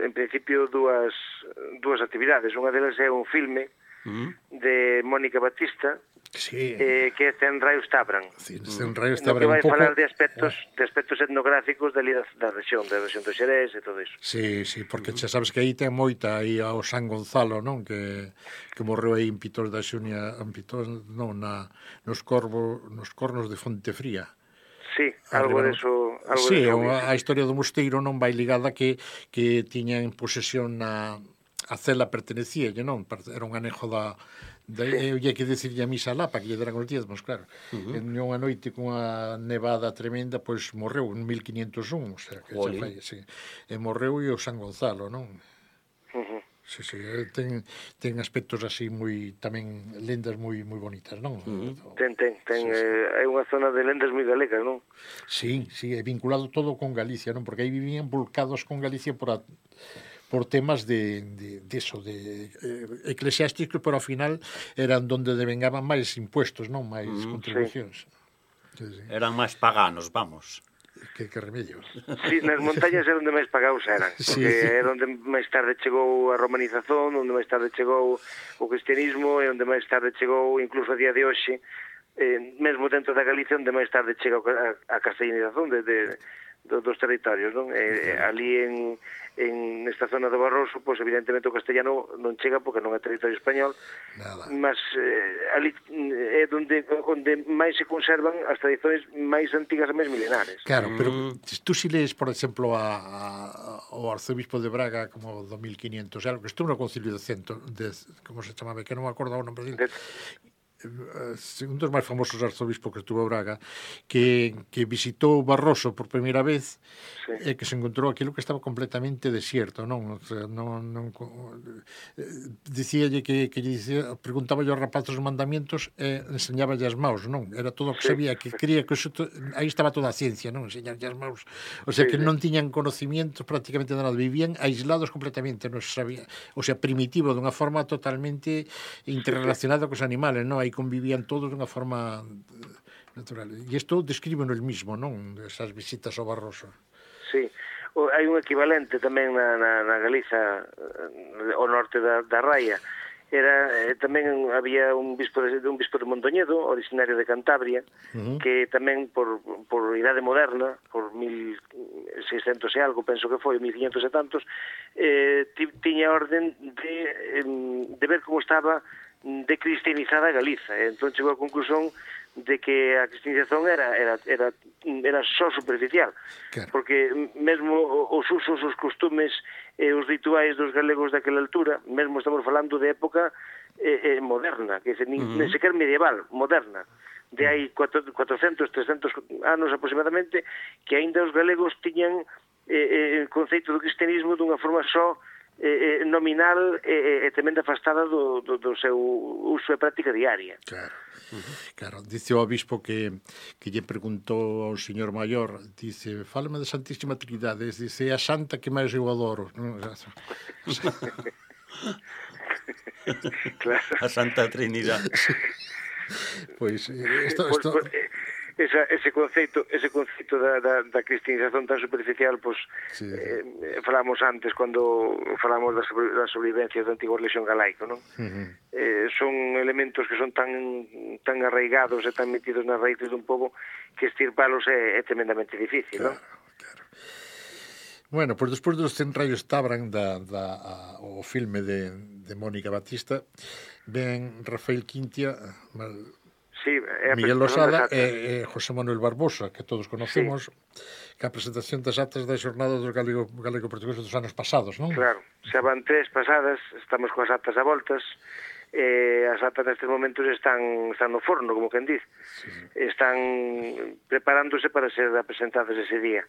S4: en principio, dúas, dúas actividades. Unha delas é un filme
S2: Mm.
S4: de Mónica Batista,
S3: sí,
S4: eh, que é Cen raios Tabran.
S3: sí, este un rayo
S4: No
S3: está
S4: que
S3: un
S4: vai
S3: pouco...
S4: falar de aspectos de aspectos etnográficos dali da, da rexión, da rexión do Xerés e todo iso.
S3: Sí, sí, porque xa sabes que aí ten moita aí ao San Gonzalo, non? Que, que morreu aí en Pitos da Xunia, en Pitos, non, na, nos, corvo, nos cornos de Fontefría.
S4: Sí, algo
S3: Arriba,
S4: deso, algo
S3: sí,
S4: deso.
S3: a, a historia do mosteiro non vai ligada que, que tiña en posesión na, a cela pertenecía, non? Era un anejo da... Da, eu lle que decirlle a misa lá para que lle deran os diezmos, claro. Uh -huh. En unha noite cunha nevada tremenda, pois morreu en mil quinientos un, o sea, que xa fai, sí. E morreu e o San Gonzalo, non?
S4: Uh -huh.
S3: Sí, sí, ten, ten aspectos así moi, tamén lendas moi moi bonitas, non? Uh -huh.
S4: Ten, ten, ten,
S3: sí, sí.
S4: Eh, hai unha zona de lendas moi galegas, non?
S3: Sí, sí, é vinculado todo con Galicia, non? Porque aí vivían volcados con Galicia por a, por temas de, de, de eso, de eh, eclesiásticos, pero ao final eran donde devengaban máis impuestos, non? Máis mm, contribucións.
S4: Sí.
S3: Sí, sí.
S2: Eran máis paganos, vamos.
S3: Que, que remedio.
S4: Sí, nas montañas era onde máis pagados eran, porque
S3: Sí.
S4: era onde máis tarde chegou a romanización, onde máis tarde chegou o cristianismo e onde máis tarde chegou, incluso a día de hoxe, eh, mesmo dentro da Galicia, onde máis tarde chega a, a castellanización de, de, de, dos territorios, non? Eh, ali en, en esta zona do Barroso, pois evidentemente o castellano non chega porque non é territorio español,
S3: Nada.
S4: mas eh, ali é onde, onde máis se conservan as tradicións máis antigas e máis milenares.
S3: Claro, pero tú si lees, por exemplo, a, a, o arzobispo de Braga como do mil quinientos, algo que estuvo no concilio de Cento, de, como se chamaba, que non me acordo o nome dele, un dos máis famosos arzobispos que estuvo a Braga, que, que visitou Barroso por primeira vez, sí. E que se encontrou aquilo que estaba completamente desierto, non? O sea, non, non dicíalle que, que lle dicía, preguntaba aos rapazos os mandamientos e enseñaballe as maus, non? Era todo o que sabía, que creía que eso, aí estaba toda a ciencia, non? Enseñarlle as maus. O sea, que non tiñan conocimientos prácticamente de nada, vivían aislados completamente, non se sabía, o sea, primitivo, dunha forma totalmente interrelacionada cos animales, non? Aí convivían todos dunha forma natural. E isto descríbeno el mismo, non? Esas visitas ao Barroso.
S4: Sí, o, hai un equivalente tamén na, na, na Galiza, ao norte da, da Raia. Era, eh, tamén había un bispo de, un bispo de Mondoñedo, originario de Cantabria, uh -huh. que tamén por, por idade moderna, por mil seiscentos e algo, penso que foi, mil quinhentos e tantos, eh, tiña orden de, de ver como estaba de cristianizada Galiza. Entón chegou a conclusión de que a cristianización era era era era só superficial,
S3: claro.
S4: porque mesmo os usos, os costumes e os rituais dos galegos daquela altura, mesmo estamos falando de época eh, eh, moderna, que nin, uh -huh. nin sequer medieval, moderna, de hai cuatrocentos, trescentos anos aproximadamente, que aínda os galegos tiñan eh, eh, o conceito do cristianismo dunha forma só eh, nominal e eh, tremenda afastada do, do, do seu uso e práctica diaria.
S3: Claro. Uh-huh. Claro, dice o obispo que, que lle preguntou ao señor maior, dice, fálame da Santísima Trinidade, dice, é a santa que máis eu adoro.
S4: Claro.
S2: A Santa Trinidade.
S3: Pois, esto, esto...
S4: Pues, pues, esa, ese conceito ese conceito da, da, da cristianización tan superficial, pues, sí, sí. Eh, falamos antes cando falamos da, sobre, da sobrevivencia do antigo lexión galaico, non? Uh -huh. eh, son elementos que son tan tan arraigados e tan metidos nas raíces dun pobo que estirpalos é, é tremendamente difícil,
S3: claro,
S4: non?
S3: Claro. Bueno, pois pues despois dos cen rayos Tabran da, da, a, o filme de, de Mónica Batista, ven Rafael Quintia, mal,
S4: sí, é
S3: Miguel Losada e, e José Manuel Barbosa, que todos conocemos, sí, que a presentación das actas da xornada dos galego, galego-portugueses dos anos pasados, non?
S4: Claro, xa van tres pasadas, estamos coas actas a voltas, e as actas nestes momentos están, están no forno, como quen diz, sí, sí. Están preparándose para ser presentadas ese día.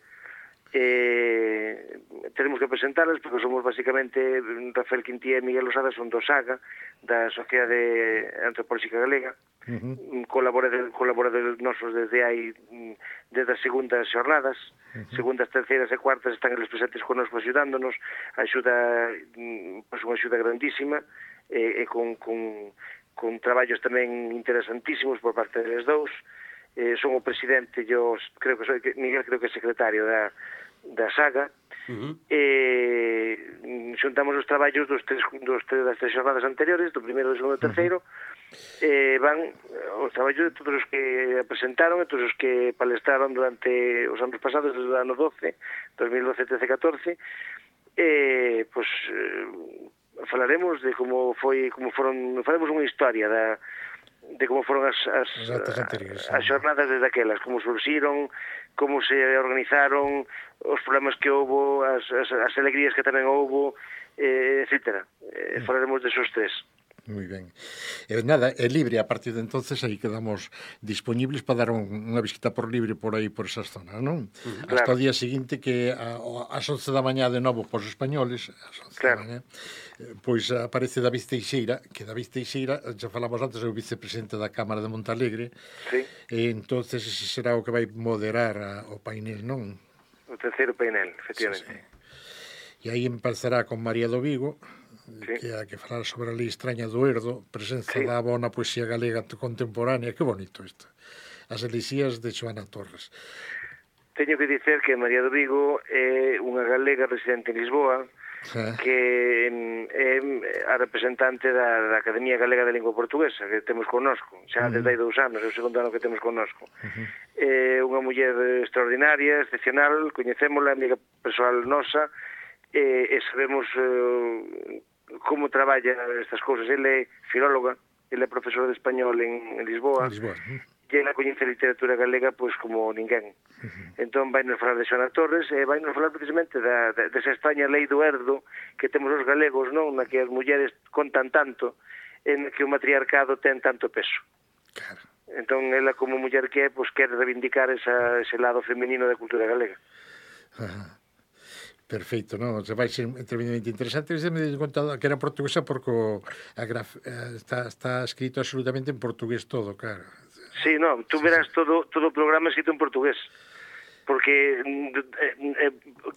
S4: Eh, tenemos que presentarlas porque somos basicamente Rafael Quintía e Miguel Losada son do SAGA, da Sociedade Antropolóxica Galega. Uh -huh. colaboradores, colaboradores nosos desde hai desde as segundas xornadas, uh -huh. segundas, terceiras e cuartas están eles presentes connosco axudándonos, axuda, pois unha axuda grandísima e, e con, con, con traballos tamén interesantísimos por parte deles dous. Eh, son o presidente, yo creo que soy, Miguel creo que é secretario da, da SAGA. Uh -huh. eh, xuntamos os traballos dos tres, dos tres, das tres xornadas anteriores, do primeiro, do segundo e terceiro. Uh -huh. eh, van os traballos de todos os que presentaron e todos os que palestraron durante os anos pasados, desde o ano doce, dos mil doce, trece, catorce. Eh, pues, eh, falaremos de como foi, como foron, faremos unha historia da de como foron as, as, as xornadas desde aquelas, como surxiron, como se organizaron, os problemas que houbo, as, as, as alegrías que tamén houbo, eh, etcétera. Eh, mm. Falaremos desos tres.
S3: Moi ben. Eh, nada, é libre, a partir de entonces aí quedamos disponibles para dar un, unha visita por libre por aí, por esas zonas, non? Uh-huh. Hasta claro. O día seguinte que a, as once da mañá de novo pos españoles, as once claro. da mañá, pois aparece David Teixeira, que David Teixeira, xa falamos antes, é o vicepresidente da Cámara de Montalegre, sí. E entonces ese será o que vai moderar a, o painel, non?
S4: O terceiro painel, efectivamente. Sí,
S3: sí. E aí empezará con María do Vigo, sí. Que hai que falar sobre a lei extraña do Erdo, presenza sí. da bona poesía galega contemporánea, que bonito isto. As elixías de Xoana Torres.
S4: Teño que dicer que María do Vigo é unha galega residente en Lisboa, ah. que é a representante da, da Academia Galega de Lingua Portuguesa, que temos connosco, xa uh -huh. desde hai dous anos, é o segundo ano que temos connosco. Uh -huh. É unha muller extraordinaria, excepcional, coñecémola, amiga persoal nosa, e, e sabemos eh, como traballa estas cousas. Ele é filóloga, ele é profesor de español en, en Lisboa, en Lisboa. Uh -huh. E ela coñece a literatura galega pois como ninguén. Uh -huh. Entón vai nos falar de Xoana Torres e vai nos falar precisamente da, da, desa extraña lei do Erdo que temos os galegos, non? Na que as mulleres contan tanto, en que o matriarcado ten tanto peso. Claro. Entón ela como muller que é, pois quere reivindicar esa, ese lado feminino da cultura galega.
S3: Uh -huh. Perfeito, non? Se vai ser tremendamente interesante. Se me dei conta que era portuguesa porque a graf... está, está escrito absolutamente en portugués todo, claro.
S4: Sí, non, tú verás todo, todo o programa escrito en portugués. Porque eh, eh,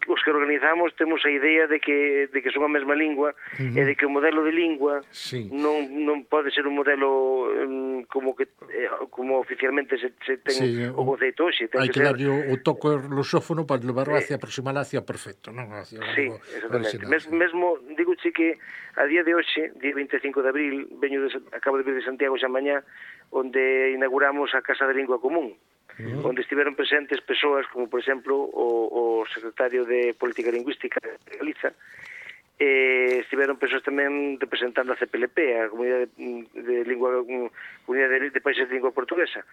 S4: os que organizamos temos a idea de que, de que son a mesma lingua uh -huh. e de que o modelo de lingua sí. non, non pode ser un modelo um, como que eh, como oficialmente se, se ten sí, o conceito hoxe.
S3: Hai que, que darlle o, o toque lusófono para levarlo hacia, aproximar hacia perfecto, non? Hacia
S4: sí, exactamente. Mes, mesmo, digo che que a día de hoxe, día vinte e cinco de abril, veño de, acabo de vir de Santiago xa mañá, onde inauguramos a Casa de Lingua Común. Uh-huh. Onde estiveron presentes persoas como, por exemplo, o, o secretario de Política Lingüística de Galiza, e estiveron persoas tamén representando a C P L P, a Comunidade de Lingua Comunidade de, de Países de Lingua Portuguesa.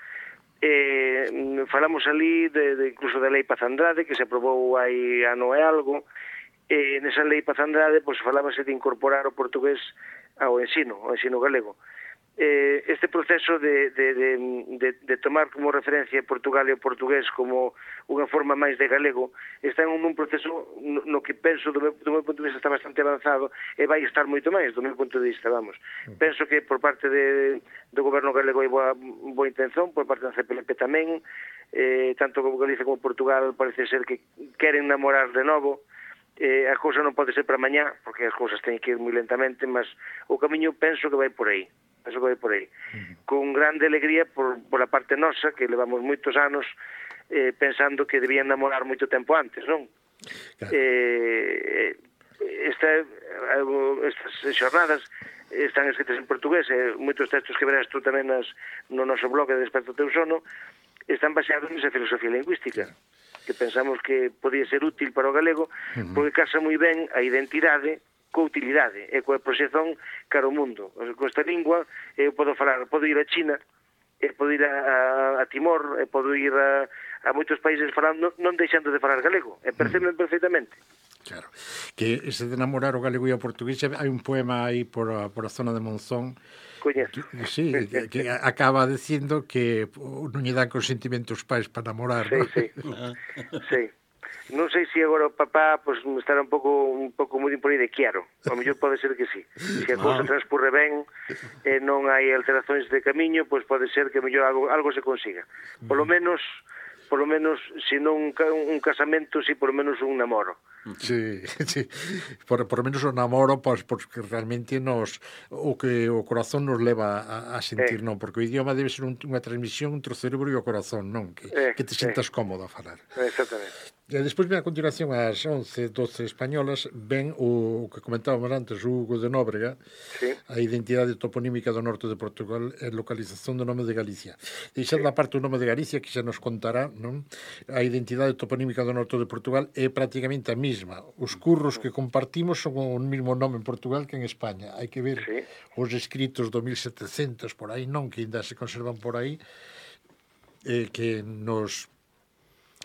S4: eh, falamos ali de, de incluso da Lei Paz Andrade, que se aprobou hai ano e algo, e nesa Lei Paz Andrade pois, falábase de incorporar o portugués ao ensino, ao ensino galego. Eh, este proceso de, de, de, de, de tomar como referencia Portugal e o portugués como unha forma máis de galego está en un proceso no, no que penso do meu, do meu punto de vista está bastante avanzado e vai estar moito máis do meu punto de vista, vamos. Penso que por parte de, do goberno galego hai boa, boa intención, por parte da C P L P tamén, eh, tanto como Galicia como Portugal parece ser que queren namorar de novo. Eh, a cousa non pode ser para mañá, porque as cousas teñen que ir moi lentamente, mas o camiño penso que vai por aí. Penso que vai por aí. Uh-huh. Con grande alegría por, por a parte nosa, que levamos moitos anos eh, pensando que debían namorar moito tempo antes, non? Claro. Eh, esta, estas xornadas están escritas en portugués, e moitos textos que verás tú tamén nas, no noso blog de Desperto Teu Sono están baseados nesa filosofía lingüística, que pensamos que podía ser útil para o galego, uh-huh. porque casa moi ben a identidade coa utilidade e coa proxección cara ao mundo. Con esta lingua eu podo falar, podo ir a China, e podo ir a, a Timor, e podo ir a, a moitos países falando, non deixando de falar galego, e perceben perfectamente.
S3: Claro, que ese de enamorar o galego e o portugués, hai un poema aí por a, por a zona de Monzón.
S4: Coñezo.
S3: Sí, que, que acaba dicindo que non lle dan consentimento os pais para namorar,
S4: sí,
S3: ¿no?
S4: Sí, sí. Non sei se agora o papá pues, estará un pouco un pouco moi por aí de quiaro. A mellor pode ser que sí. Se a cousa transcurre ben e eh, non hai alteracións de camiño, pois pues pode ser que mellor algo, algo se consiga. Por lo menos, por lo menos, se non un, un casamento, si por lo menos un namoro.
S3: Sí, sí. Por, por lo menos o namoro, pois, porque realmente nos o que o corazón nos leva a, a sentir, eh. non? Porque o idioma debe ser un, unha transmisión entre o cerebro e o corazón, non? Que, eh, que te sintas eh. cómodo a falar.
S4: Exactamente.
S3: E despois, ben, a continuación, ás once, doce españolas, ven o, o que comentábamos antes, o Hugo de Nóbrega, sí. A identidade toponímica do norte de Portugal e localización do nome de Galicia. Deixando sí. A parte o nome de Galicia, que xa nos contará, non? A identidade toponímica do norte de Portugal é prácticamente a mesma. Os curros que compartimos son o mesmo nome en Portugal que en España. Hai que ver sí. Os escritos do mil setecentos por aí, non? Que ainda se conservan por aí, eh, que nos...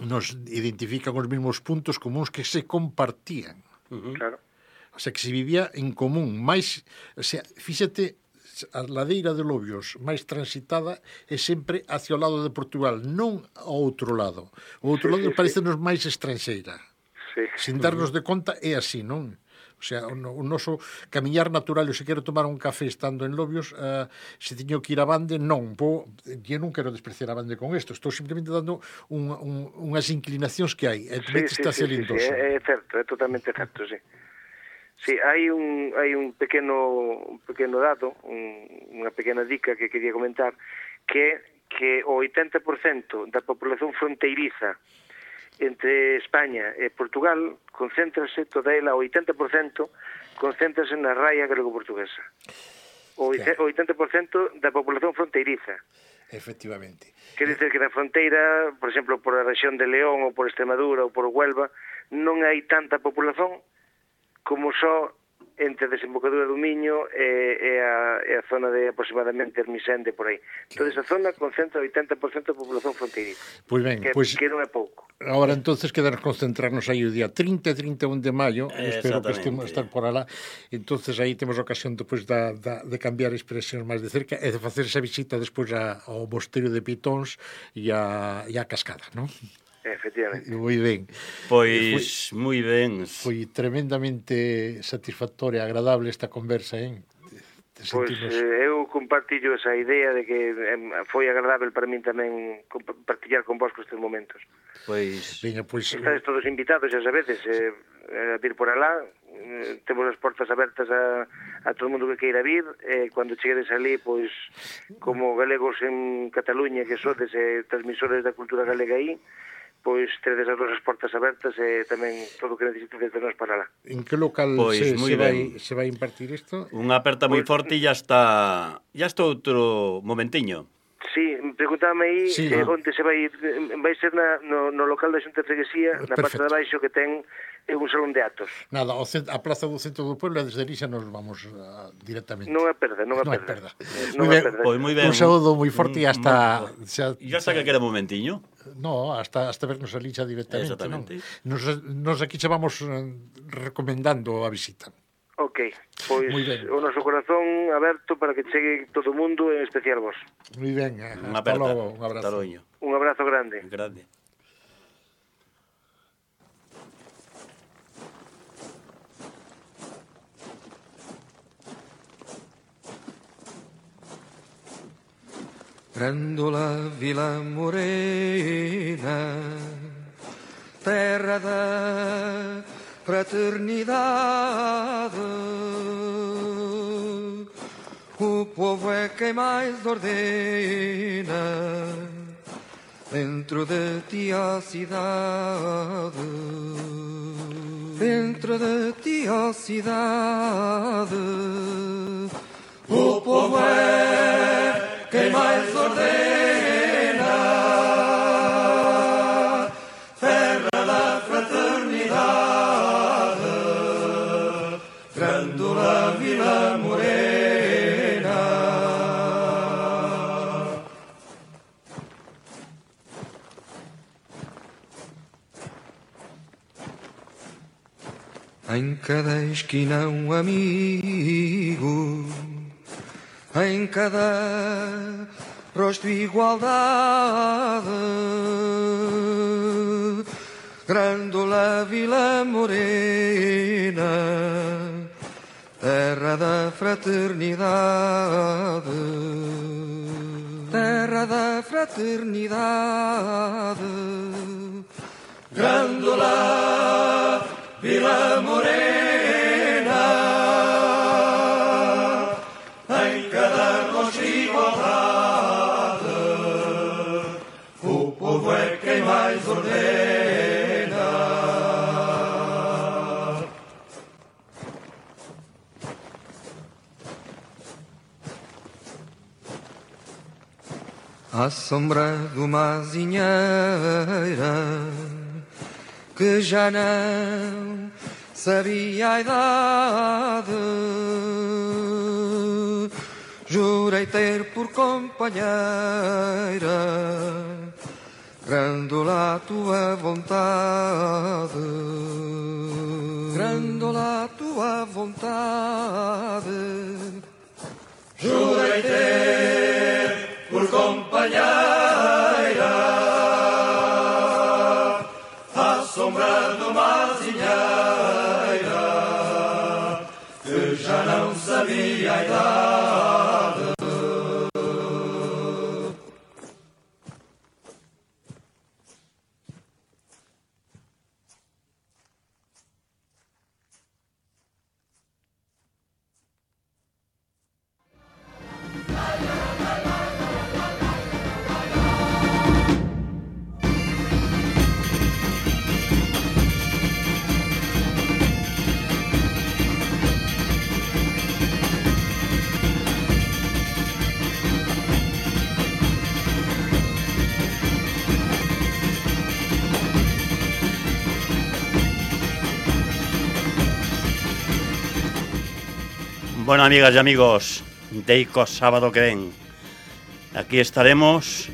S3: nos identifican os mesmos puntos comuns que se compartían.
S4: Uh-huh. Claro.
S3: O sea, que se vivía en común. Mais, o sea, fíxate, a ladeira de Lobios máis transitada é sempre hacia o lado de Portugal, non ao outro lado. O outro sí, lado sí, parece-nos sí. máis estranxeira. Sí. Sin darnos de conta, é así, non? O sea, o, o noso camiñar natural, eu se quero tomar un café estando en Lobios, uh, se teño que ir a Bande, non, vou, eu non quero despreciar a Bande con isto, estou simplemente dando un, un, unhas inclinacións que hai, e
S4: sí, sí, está sí, sí, sí, é, é certo, é totalmente certo, sí. Sí, hai un, hai un pequeno un pequeno dado, un, unha pequena dica que quería comentar, que que o oitenta por cento da población fronteiriza entre España e Portugal concéntrase toda ela, o oitenta por cento concéntrase na raia galego-portuguesa. O oitenta por cento da población fronteiriza.
S3: Efectivamente.
S4: Quer dizer que na fronteira, por exemplo, por a rexión de León ou por Extremadura ou por Huelva, non hai tanta población como só entre a desembocadura do Miño e, e, a, e a zona de aproximadamente Ermisende, por aí. Toda esa zona concentra o oitenta por cento da población fronteiriza.
S3: Pois ben,
S4: que,
S3: pois...
S4: que non é pouco.
S3: Agora, entonces, quedarnos concentrarnos aí o día trinta e trinta e un de maio, eh, espero que estemos estar por alá, entonces aí temos ocasión depois da, da, de cambiar expresións máis de cerca e de facer esa visita despois a, ao mosteiro de Pitóns e a, e a Cascada, non?
S4: Efectivamente.
S3: Moi ben.
S2: Pois, foi, moi ben.
S3: Foi tremendamente satisfactoria e agradable esta conversa, hein?
S4: Pois eh, eu compartillo esa idea de que eh, foi agradable para min tamén compartillar con vos estes momentos.
S3: Pois, veña, pois
S4: estades todos invitados, xa sabedes, eh, a vir por alá, eh, temos as portas abertas a, a todo o mundo que queira vir, e eh, cando cheguedes ali, pois, como galegos en Cataluña, que sodes eh, transmisores da cultura galega aí, pois tedes as nosas portas abertas e tamén todo o que necesitedes de nós para lá.
S3: En que local
S2: pois,
S3: se, se, vai, se vai impartir isto?
S2: Unha aperta moi pues, forte e ya está, ya está outro momentiño.
S4: Sí, preguntame aí
S3: Sí,
S4: eh,
S3: ah.
S4: onde se vai ir. Vai ser na, no, no local da Xunta de Freguesía, na parte
S3: Perfecto.
S4: de baixo que ten eh, un salón de atos.
S3: Nada, ao cent- a plaza do centro do pueblo, e desde ali xa nos vamos uh, directamente.
S4: Non é perda, non é
S3: Non é
S4: perda.
S3: perda.
S4: Eh,
S3: Moi
S4: Non é
S3: ben.
S4: perda.
S2: Pois moi ben.
S3: Un saúdo moi forte e
S2: Mm,
S3: hasta...
S2: mm,
S3: xa,
S2: E hasta que queda un momentiño.
S3: No, hasta, hasta vernos ali xa directamente.
S2: Exactamente.
S3: Non? Nos, nos aquí xa vamos eh, recomendando a visita.
S4: Ok, pois
S3: Moi ben.
S4: o noso corazón aberto para que chegue todo o mundo, en especial vos.
S3: Moi ben, eh,
S2: Unha
S3: hasta
S2: aperta.
S3: logo, un abrazo.
S2: Hasta logo.
S4: Un abrazo grande.
S2: Grande.
S5: Grândola Vila Morena, terra da fraternidade, o povo é quem mais ordena, dentro de ti a cidade, dentro de ti a cidade, o povo é quem mais ordena, terra da fraternidade, Grândola Vila Morena. Em cada esquina um amigo, em cada rosto igualdade, Grândola Vila Morena, terra da fraternidade, terra da fraternidade, Grândola Vila Morena. Em cada rosto igualdade, o povo é quem mais ordena. À sombra de uma azinheira que já não sabia a idade, jurei ter por companheira Grândola a tua vontade, Grândola a tua vontade, jurei ter por companheira à sombra de uma azinheira que já não sabia a idade.
S2: Bueno, amigas e amigos, deico sábado que ven. Aquí estaremos